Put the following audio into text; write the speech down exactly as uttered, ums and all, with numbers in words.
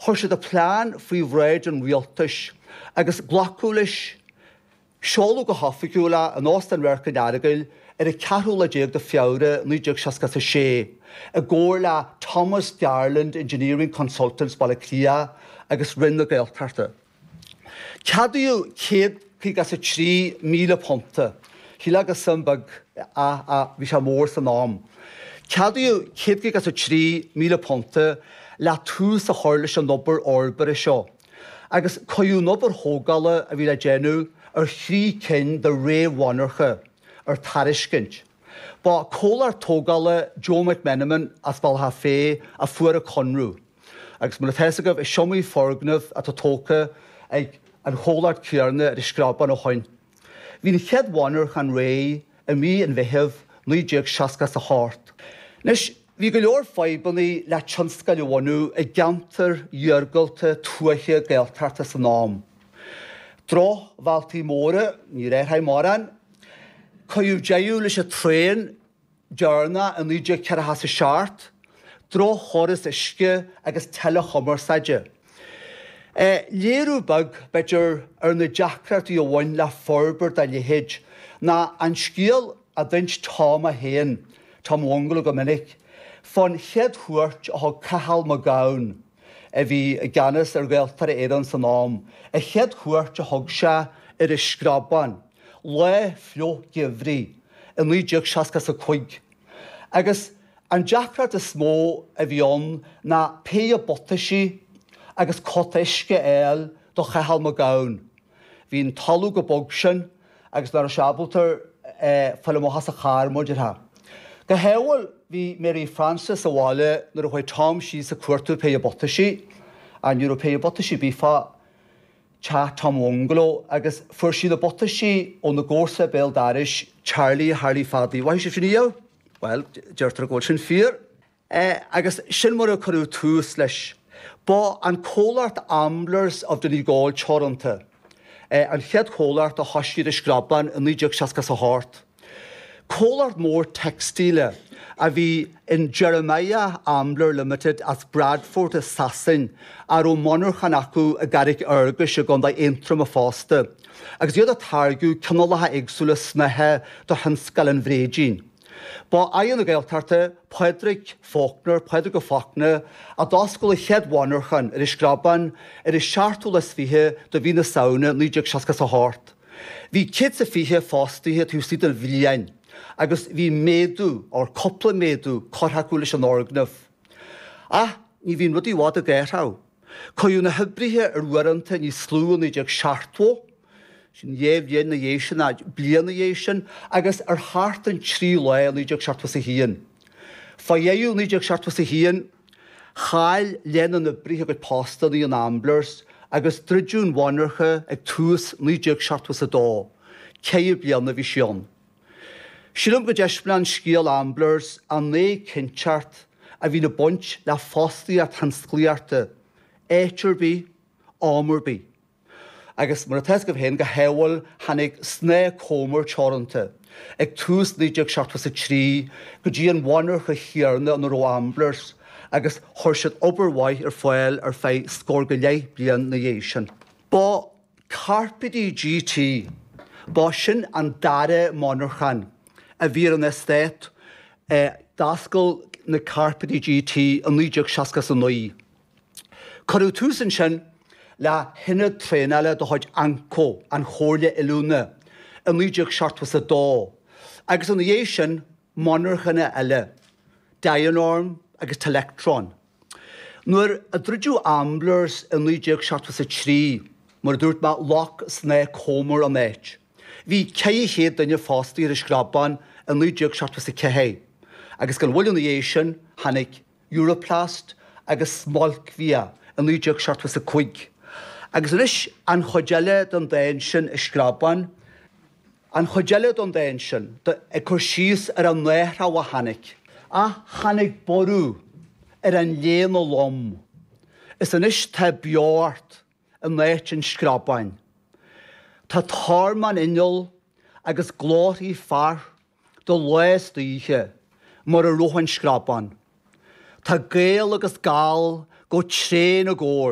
Chuir siad a plean faoi bhráid an rialtais agus glacadh leis. Seoladh go hoifigiúil é in Óstán Radharc an Earagail ar an ceathrú lá déag de Feabhra naoi déag seasca a sé, i gcomhar le Thomas Garland Engineering Consultants Baile Átha Cliath agus Roinn na Gaeltachta. Ceadaíodh céad caoga is a trí míle punta, shílfeá gur suim beag ach bhí sé mór san am. Ceadaíodh céad caoga is a trí míle punta le tús a chur leis an obair fhorbartha seo, agus cuireadh an obair thógála a bhí le déanamh ar thrí cinn de réamh-mhonarcha ar tairiscint. Ba comhlacht tógála Joe McMenamin as Bealach Féich a fuair an conradh, agus mar atá fhios agaibh is iomaí foirgneamh atá tógtha ag an chomhlacht céanna ar an Screabán ó shoin. Bhí an chéad mhonarchan réidh i mí an Mheithimh naoi déag seasca is a hocht. Anois, bhí go leor fadhbanna le tionscail a bhunú i gceantair iargúlta tuaithe Gaeltachta san am. Drochbhealtaí móra, ní raibh mórán. Cuireadh deireadh leis an traein deireanach i naoi déag ceathracha is a seacht, droch-chóras uisce agus teileachumarsáide. Léiriú beag, b'fhéidir, ar na deacrachtaí a bhain le forbairt dá leithéid ná an scéal a d'inis Tom é féin, Tom Bhungalow go minic, fán chéad chuairt a thug Cathal Mac Gabhann, a bhí i gceannas ar Ghaeltarra Éireann san am, an chéad chuairt a thug sé ar an Screabán, lá fliuch geimhridh i naoi déag seasca is a cúig. Agus an deacracht is mó a bhí ann ná péire buataisí agus cóta uisce a fháil do Chathal Mac Gabhann. Bhí an talamh chomh bog sin agus nach raibh sé ábalta fáil amach as a charr, mar a déarfá. Go hádhúil bhí Mary Frances sa bhaile nuair a chuaigh Tom síos ag cuartú péire buataisí, ach ní raibh péire buataisí ar bith fá teach Tom Bhungalow agus fuair sí na buataisí óna gcomharsa béal dorais, Charlie Harley Phaddy. Mhaithigh sibh sin riamh? Bhuel, deirtear go bhfuil sin fíor. Agus sin mar a cuireadh tús leis. Ba an comhlacht Amblers of Donegal Teoranta an chéad chomhlacht a thoisigh ar an Screabán i naoi déag seasca is a hocht. Comhlacht mór teicstíle a bhí in Jeremiah Ambler Limited as Bradford i Sasain a raibh monarchan acu i gCarraig Fhearghais i gContae Aontroma fosta, agus iad ag táirgeadh cineálacha éagsúla snáithe do thionscal an bhréidín. Ba Aire na Gaeltachta, Pádraig Faulkner, Pádraig Ó Fachtna, a d'oscail an chéad mhonarchan ar an Screabán ar an seachtú lá is fiche de mhí na Samhna naoi déag seasca is a hocht. Bhí céad is a fiche fostaithe taobh istigh de bhliain agus bhí méadú, or cúpla méadú, curtha acu leis an fhoirgneamh. Ach ní bhíonn rudaí i bhfad ag athrú. Cuireadh na hoibrithe ar uaireanta níos lú i naoi déag seachtó, sin dhá bhliain ina dhiaidh sin, nó bliain ina dhiaidh sin, agus ar sheachtain trí lá i naoi déag seachtó is a haon. Fá dheireadh naoi déag seachtó is a haon, chaill leath na n-oibrithe a gcuid postanna in Amblers agus druideadh an mhonarcha ag tús naoi déag seachtó is a dó. Ceithre bliana a bhí sí ann. Sílim go dtaispeánann scéal Amblers an éiginnteacht a bhíonn ag baint le fostaíocht thionsclaíochta, áit ar bith, am ar bith. Agus mar atá fhios agaibh féin, go hádhúil tháinig Snáth Comer Teoranta ag tús naoi déag seachtó is a trí go dtí an mhonarcha chéanna ina raibh Amblers agus chuir siad obair mhaith ar fáil ar feadh scór go leith bliain ina dhiaidh sin. Ba Cairpéidí G T, ba sin an dara monarchan a bhí ar an eastát. D'oscail na Cairpéidí G T i naoi déag seasca is a naoi. Cuireadh tús ansin le hionad traenála de chuid Anco, an Chomhairle Oiliúna, i naoi déag seachtó is a dó, agus ina dhiaidh sin monarchana eile, Dianorm agus Telectron. Nuair a druideadh Amblers i naoi déag seachtó is a trí, mar a dúirt mé, ghlac Snáth Comer an áit. Bhí ceithre chéad duine fostaithe ar an Screabán i naoi déag seachtó is a ceathair, agus gan mhoill ina dhiaidh sin tháinig Europlast agus Smolcbhia i naoi déag seachtó is a cúig. Agus anois an chuid eile den dán sin i Screabán, an chuid eile den dán sin, ag cur síos ar an athrú a tháinig. Ach tháinig borradh ar an léana lom, is anois tá beocht in áit an Screabáin. Tá tormán inneall agus glórthaí fear de lá is d'oíche mar a raibh an Screabán. Tá Gael agus Gall Go tréan i gcomhar.